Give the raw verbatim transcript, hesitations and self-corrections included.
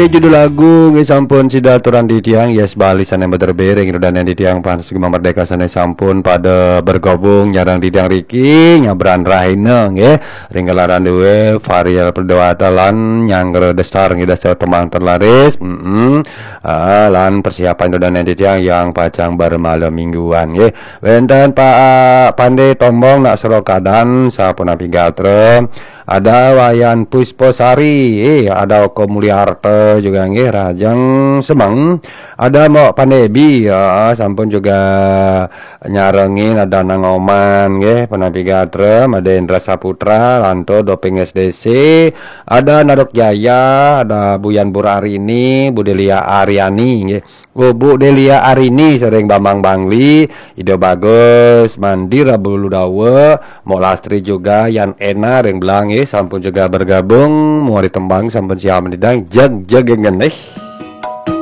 Judul lagu nggih sampun sida aturan titiang, yes, Bali sané mater bering, ring dodonan titiang Panas Gema Merdeka sané sampun pada bergabung nyareng titiang riki, nyabran rahina nggih, ring gelaran dué Varial Perdewata lan nyanggra desar nggih, dasar tembang terlaris. Mm-mm. Ah, lan persiapan dodonan titiang yang pacang bermalam mingguan nggih. Wénten Pak Pandé Tombong nak Serokadan, sapunapi gatra. Ada Wayan Pusposari, eh, ada Oko Mulyarta juga nggih, Rajang Semeng. Ada Mbok Panebi, ya, sampun juga nyarengin, ada Nang Oman nggih, Penapi Gatra, ada Indra Saputra, Lanto Doping S D C, ada Narok Jaya, ada Buyan Burarini, Bu Delia Ariani nggih. Oh, Bu Delia Arini sering Bambang Bangli, Ido Bagus, Mandira Bulu Dawa, Mok Lastri juga, Yan Ena ring Belang, eh, sampun juga bergabung, muari tembang sampun siap menidang, jeg jeg ngenih.